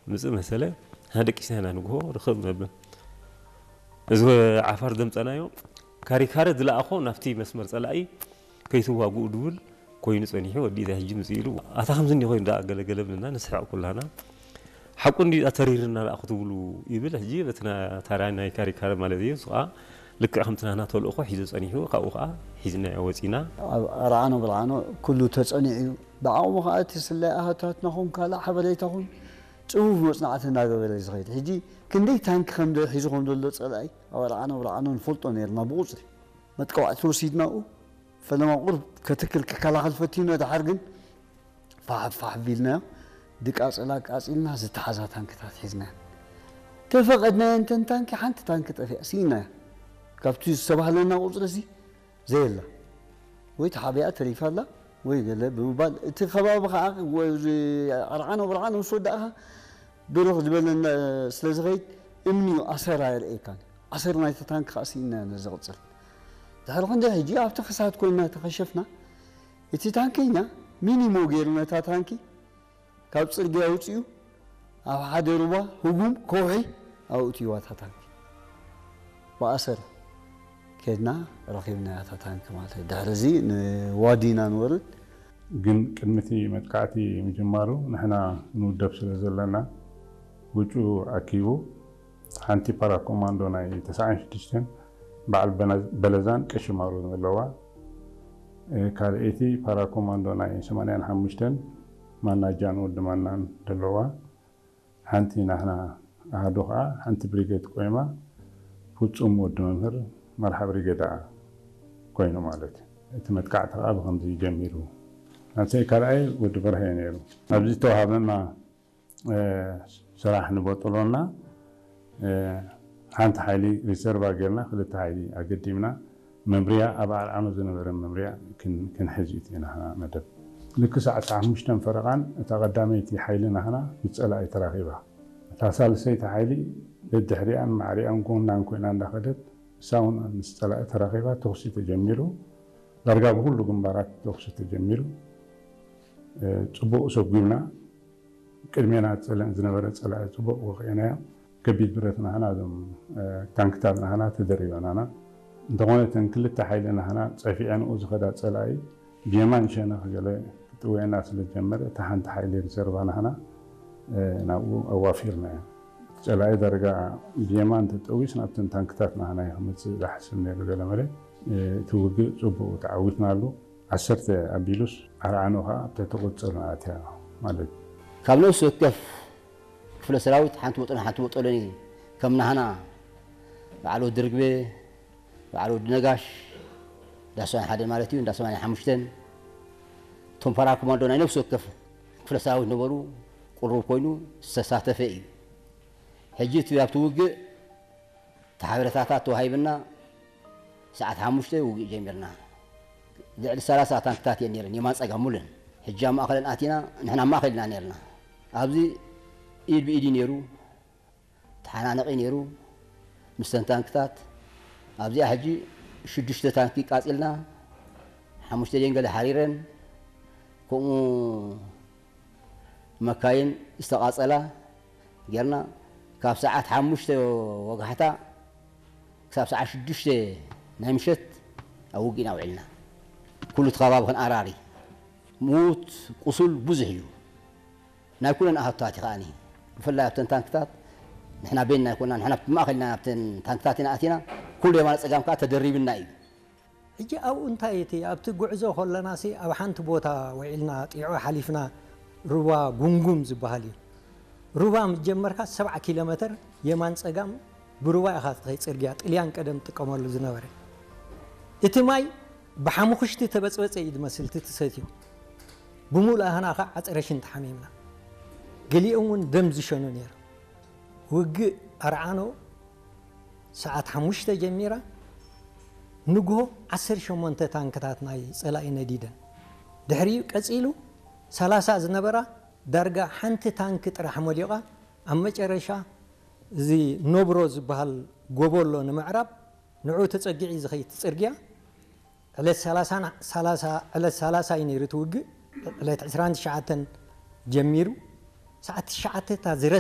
ምጽእ መሰለ፣ ንሓደ ደቂስና ኢና ንግሆ ርኽብ ነብል። እዚ ዓፋር ዘምጸናዮ ካሪካረ ዝለኣኾ ናብቲ መስመር ጸላኢ ከይትዋግኡ ድብል ኮይኑ ጸኒሑ፣ ወዲ እዛ ሕጂ ምጽእ ኢሉ፣ ኣታ ከምዚ እንዲ ኮይኑ ደኣ ገለገለ ብልና ንስሕቕ ኩላና። ሓቁ እንዲ ተሪርና ደኣ ክትብሉ ይብል። ሕጂ በቲ ና-፣ ታራ ናይ ካሪካረ ማለት እዩ። እሱ ኸኣ ልክዕ ከምቲ ናህና ተልእኾ ሒዙ ጸኒሑ፣ ካብኡ ኸኣ ሒዝናዮ ወጺና። ኣብ ኣርዓኖ ብርዓኖ ኩሉ ተጸኒዑ እዩ። ብዓቕሙ ኸኣ እቲ ስለ ኣሃታትና ኹን ካልእ ሓበሬታ ኹን ጽፉፍ መጽናዕቲ እናገበረ እዩ ዝኸይድ። ሕጂ ክንደይ ታንኪ ከም ደ-፣ ሒዙ ከም ዘሎ ጸላኢ ኣብ ኣርዓኖ ብርዓኖ ንፈልጦ ነይርና ብቑጽሪ። መጥቃዕቲ ወሲድናኡ፣ ፈለማ ቁሩብ ከትክል ክከላኸል ፈቲኑ፣ ድሓር ግን ፋሕ ፋሕ ቢልናዮ፣ ድቃጸላ ቃጺልና ዝተሓዛ ታንክታት ሒዝናዮ። ተፈቐድናዮ እንተን ታንኪ፣ ሓንቲ ታንኪ ጠፊኣ፣ ስኢናዮ። ካብቲ ዝተባህለና ቁጽሪ እዚ ዘየላ። ወይ ተሓቢኣ ተሪፋ ኣላ፣ ወይ ገለ ብምባል፣ እቲ ከባቢ ኸዓ፣ ወ-፣ እዚ ኣርዓኖ ብርዓኖ ምስ ወዳእኻ፣ ብርኽ ዝበለ እንዳ-፣ ስለ ዝኸይድ፣ እምኒ እዩ፣ ኣሰር ኣየርእየካን። ኣሰር ናይቲ ታንኪ ኸዓ ስኢናዮ ነዚ ዝቕጽል። ድሕሪ ክንደይ ሕጂ ኣብቲ ክሳድ ኮይንና ተኸሸፍና፣ እቲ ታንከኛ ሚኒሞ ገይሩ ነታ ታንኪ ካብ ጽርግያ ኣውጺኡ ኣብ ሓደ ሩባ ህጉም ከውሒ ኣውጺእዋ እታ ታንኪ። ብኣሰር ኬድና ረኺብናያ እታ ታንኪ ማለት እዩ። ድሕሪ እዚ ንዋዲና ንወርድ። ግን ቅድሚ እቲ መጥቃዕቲ ምጅማሩ ንሕና ንውደብ ስለ ዘለና ውጩ ኣኪቡ ሓንቲ ፓራኮማንዶ ናይ ተስዓን ሽዱሽተን በዓል በነ-፣ በለዛን ቀሽማሩን ዘለዋ፣ እ፣ ካልኣይቲ ፓራኮማንዶ ናይ ሰማንያን ሓሙሽተን ማናጃን ወዲ ማናን ዘለዋ፣ ሓንቲ ናህና ኣሃዱ ኸዓ ሓንቲ ብሪጌድ ቆይማ ፍጹም ወዲ መምህር መርሓ ብሪጌዳ ኮይኑ ማለት እዩ። እቲ መጥቃዕቲ ኸዓ ብኸምዚ ጀሚሩ። ናብቲ ካልኣይ ወዲ በርሀ እዩ ነይሩ። ኣብዚ ዝተዋሃበና እ፣ ስራሕ ንበጥሎና፣ እ፣ ሓንቲ ሓይሊ ሪዘርቫ ጌርና ክልተ ሓይሊ ኣገዲምና መምርያ ኣብ ኣርዓኖ ዝነበረ መምርያ ክን-፣ ክንሕዝ እዩ እቲ ናህና መደብ። ልክ ሰዓት ሓሙሽተን ፈረቓን እታ ቀዳመይቲ ሓይሊ ናህና ምስ ጸላኢ ተራኺባ። እታ ሳልሰይቲ ሓይሊ ደድሕሪኣን ማዕሪኣን ጎናን ኮይና እንዳኸደት እሳ እውን ምስ ጸላኢ ተራኺባ ተኹሲ ተጀሚሩ። ዳርጋ ብኹሉ ግንባራት ተኹሲ ተጀሚሩ። እ፣ ጽቡቕ ሰጒምና። ቅድሜና ጸለ-፣ ዝነበረ ጸላኢ ጽቡቕ ወቒዕናዮ። ከቢድ ብረት ናህና፣ እዞም፣ እ፣ ታንክታት ናህና ተደሪበናና። እንተኾነ እተን ክልተ ሓይሊ ናህና ጸፊዐንኡ ዝኸዳ ጸላኢ ብየማን ሸነኽ ገለ ክጥውየና ስለ ዝጀመረ፣ እታ ሓንቲ ሓይሊ ሪዘርቫ ናህና፣ እ፣ ናብኡ ኣዋፊርናዮ። ጸላኢ ዳርጋ ብየማን ተጠዊስ ናብተን ታንክታት ናህና እዩ ክመጽእ ዝሓስብ ነይሩ ገለ መለ። እ፣ እቲ ውግእ ጽቡቕ ተዓዊትናሉ። ዓሰርተ ኣቢሉስ ኣርዓኖ ኸዓ ኣብ ትሕቲ ቁጽጽርና ኣትያ ማለት እዩ። ካብ ነፍሲ ወከፍ ክፍለ ሰራዊት ሓንቲ ወጠን ሓንቲ ወጠሎኒ ከም ናህና በዓል ወዲ ርግበ፣ በዓል ወዲ ነጋሽ፣ እንዳ ሰማንያ ሓደ ማለት እዩ፣ እንዳ ሰማንያ ሓሙሽተን፣ እቶም ፓራ ኮማንዶ ናይ ነፍሲ ወከፍ ክፍለ ሰራዊት ነበሩ፣ ቅሩብ ኮይኑ ዝተሳተፈ እዩ። ሕጂ እቲ ኣብቲ ውግእ እቲ ሓበሬታታት ተዋሂብና፣ ሰዓት ሓሙሽተ ውግእ ጀሚርና። ልዕሊ ሰላሳ ታንክታት እየን ነይረን፣ የማን ጸጋም ሙሉን። ሕጂ ኣብ ማእከለን ኣቲና፣ ንሕና ኣብ ማእከል ኢና ነይርና። ኣብዚ ኢድ ብኢድ እዩ ነይሩ፣ ተሓናነቒ ነይሩ፣ ምስተን ታንክታት። ኣብዚኣ ሕጂ ሽዱሽተ ታንኪ ቃጺልና፣ ሓሙሽተ ደንገለ ሓሪረን፣ ከምኡ መካይን ዝተቓጸላ ጌርና፣ ካብ ሰዓት ሓሙሽተ ወጋሕታ ክሳብ ሰዓት ሽዱሽተ ናይ ምሸት ኣብ ውግእና ውዒልና። ኩሉ እቲ ከባቢ ክንኣራሪ። ምዉት፣ ቁሱል ብዙሕ እዩ። ናይ ኩለን ኣሃቱታት እዩ ከኣኒ። ብፍላይ ኣብተን ታንክታት፣ ንሕና ቤንና ኣይኮና፣ ንሕና ብማእከል ኢና ኣብተን ታንክታት ኢና ኣቲና። ኩሉ የማነ ጸጋም ከኣ ተደሪብና እዩ። ሕጂ ኣብኡ እንታይ እቲ ኣብቲ ጉዕዞ ከለናሲ ኣብ ሓንቲ ቦታ ውዒልና ጢዖ ሓሊፍና ሩባ ጉንጉም ዝበሃል እዩ። ሩባ ምስ ጀመርካ ሰብዓ ኪሎ ሜተር የማን ጸጋም ብሩባ ኢኻ ትኸይድ ጽርግያ፣ ጥልያን ቀደም ትጥቀመሉ ዝነበረ። እቲ ማይ ብሓሙኽሽቲ ተበጽበጸ እዩ ዝመስል እቲ ትሰትዮ። ብምሉእ ኣህና ኸዓ ዓጸረ ሽንቲ ሓሚምና። ገሊኦም እውን ደም ዝሸኑ ነይሮም። ውግእ ኣርዓኖ ሰዓት ሓሙሽተ ጀሚራ ንግሆ ዓሰርተ ሸሞንተ ታንክታት ናይ ጸላኢ ነዲደን። ድሕሪኡ ቀጺሉ ሰላሳ ዝነበራ ዳርጋ ሓንቲ ታንኪ ጥራሕ መሊቓ ኣብ መጨረሻ እዚ ኖብሮ ዝበሃል ጎቦ ኣሎ ንምዕራብ ንዕኡ ተጸጊዑ እዩ ዝኸይድ እቲ ጽርግያ። ዕለት ሰላሳ ና-፣ ሰላሳ፣ ዕለት ሰላሳ እዩ ነይሩ እቲ ውግእ። ዕለት ዕስራን ትሽዓተን ጀሚሩ። ሰዓት ትሽዓተ እታ ዝረስ